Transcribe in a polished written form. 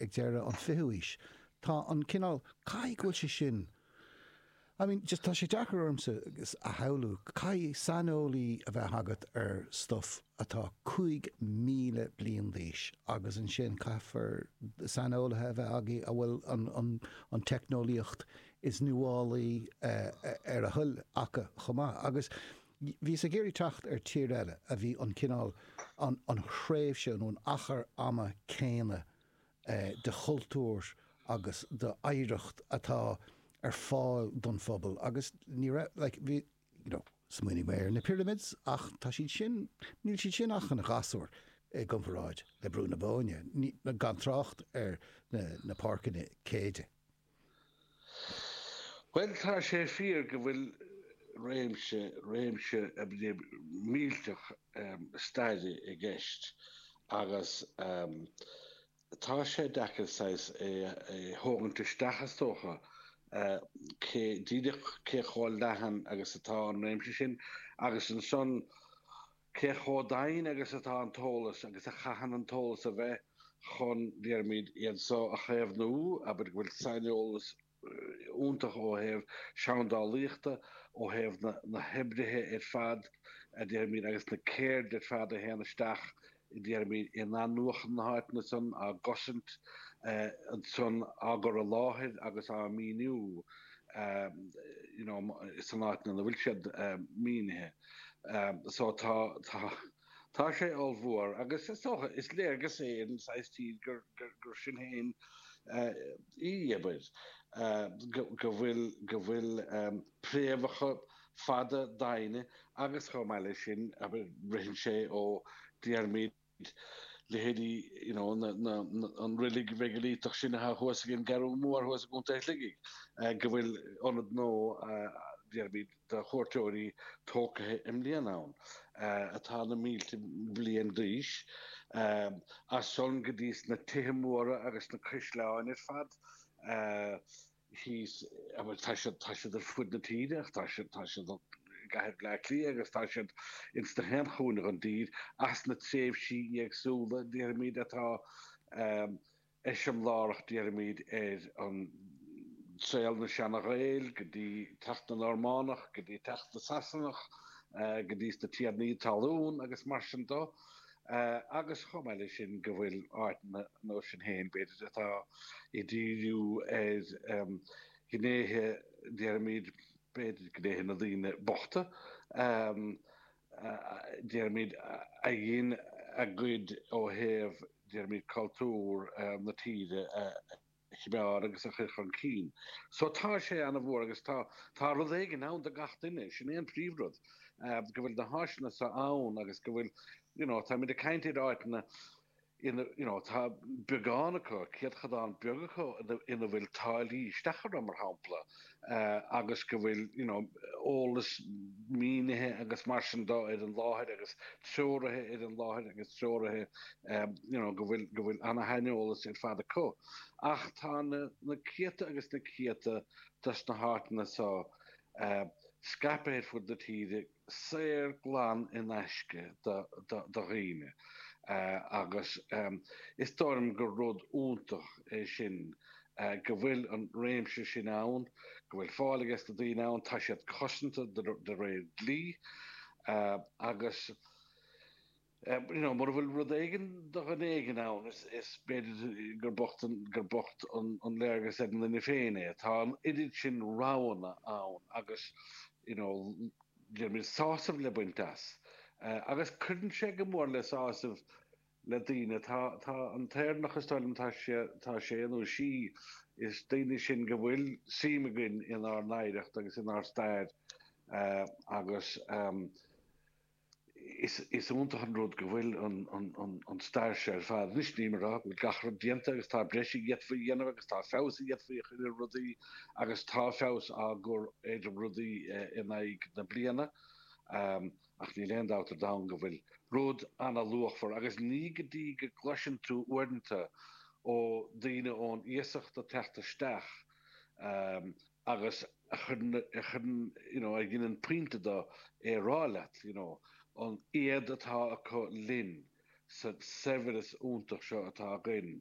ag deireadh an fichiú aois. Tá an cineál, caithfidh go bhfuil sé sin, I mean, just tá sé deacair ormsa a shamhlú, caithfidh saineolaí a bheith agat ar stuff atá 5,000 bliain d'aois agus ansin caithfear saineolaithe a bheith agaibh a bhfuil an, an, an teicneolaíocht is nuálaí ar a thoil acu chomh maith. Agus bhíos ag iarraidh teacht ar tír eile a bhí an cineál, an, an thréimhse nó an achar ama céanna de chultúr agus d'oidhreacht atá ar fáil don phobal agus ní raibh, like, bhí, you know, smaoinigh mé ar na pyramids ach tá siad sin, níl siad sin ach ina ghasúir i gcomparáid le Brú na Bóinne, ní, gan trácht ar na, na páirceanna céide. Bhuel, tá sé fíor go bhfuil réimse, réimse millteach staire i gceist agus tá sé deacair saghas é a thógaint isteach is dócha, cé, díreach cé chomh leathan agus atá an réimse sin agus ansan Cé chomh doimhin agus atá an t-eolas agus a chaitheann an t-eolas a bheith chun, déarfaimid, iad so a chaomhnú, abair go bhfuil saineolas iontach ó thaobh seandálaíochta, ó thaobh na hoibrithe ar fad, a déarfaimid, agus na ceird ar fad a théann isteach, déarfaimid, in athnuachan na háiteanna san, á gcosaint ansan, á gcur i láthair agus á míniú, you know, san áit ina bhfuil siad mínithe. So tá, tá, tá sé ollmhór agus is dócha, is léargas é ar an saghas tír gur, gur, gur sinn féin í, abair, go, go bhfuil, go bhfuil préamhacha fada doimhne agus chomh maith leis sin, abair, ritheann sé ó, déarfaimid, leithéidí you know na, na, an reilig mheigilíteach sin atá thuas ag an gCeathrú Mór thuas i gContae Shligigh, go bhfuil ionad nua déarfaimid do chuairteoirí tógtha i mbliana ann, atá na mílte bliain d'aois, as san go dtí sna tithe móra agus na caisleáin ar fad. thíos, bhuel, tá siad, tá siad ar fud na tíre ach tá siad, tá siad i gcathair Bhleá Cliath agus tá siad ins na haon chúinne den tír, as na tréimhsí éagsúla, déarfaimid, atá eiseamláireach, déarfaimid, ar an saol na seana-Ghaeil go dtí teacht na Normánach, go dtí teacht na Sasanach, go dtí sna tiarnaí talún agus mar sin do. Agus chomh maith leis sin go bhfuil áiteanna nó sin féin, b'fhéidir, atá ag díriú ar ghnéithe, déarfaimid, b'fhéidir gnéithe na daoine bochta, déarfaimid, a dhein a gcuid ó thaobh, déarfaimid, cultúr na tíre a choimeád agus a chur chun cinn. So tá sé ana-mhór agus tá, tá rud éigin ann do gach duine, sin é an príomhrud, go bhfuil na háiseanna so ann agus go bhfuil, you know, táimid ag caint ar áiteanna ina, you know, tá beagán acu, céadchodán beag acu ina bhfuil táillí isteach orthu, mar shampla, agus go bhfuil, you know, eolas mínithe agus mar sin de ar an láthair agus treoraithe ar an láthair agus treoraithe, you know, go bhfuil, go bhfuil ana-shaineolas ar fad acu. Ach tá na, na céadta agus na céadta dos na háiteanna so scaipthe ar fud na tíre, saor glan in aisce do dhaoine agus is dóigh liom gur rud iontach é sin go bhfuil an réimse sin ann, go bhfuil fáil ages na daoine ann, tá siad cosanta de réir dlí agus you know, mura bhfuil rud éigin do dhuine éigin ann, is, is b'fhéidir gur bocht an, gur bocht an, an léargas ar an duine féin é. Tá an oiread sin roghanna ann agus, you know, déarfaimid sásamh le baint as. Agus cuireann sé go mór le sásamh le daoine. Tá, tá an tÉireannach, is dóigh liom, tá sé, tá sé nó sí, is daoine sinn go bhfuil suim againn inár n-oidhreacht agus inár stair agus, Is iontach an rud go bhfuil an stair seo ar fad. Anois nílim ag rá go bhfuil gach rud déanta agus tá breis a d'fhéadfaí a dhéanamh agus tá feabhas a d'fhéadfaí a chur ar rudaí agus tá feabhas á gcur ar rudaí in aghaidh na bliana ach níl aon dabht ar domhan go bhfuil rud ana-luachmhar agus ní go dtí go gcloiseann tú uaireanta ó daoine ón iasacht ag teacht isteach agus a chuireann, a chuireann, you know, a dheineann pointe de é a rá leat, you know, an éad atá acu linn sa saibhreas iontach seo atá againn.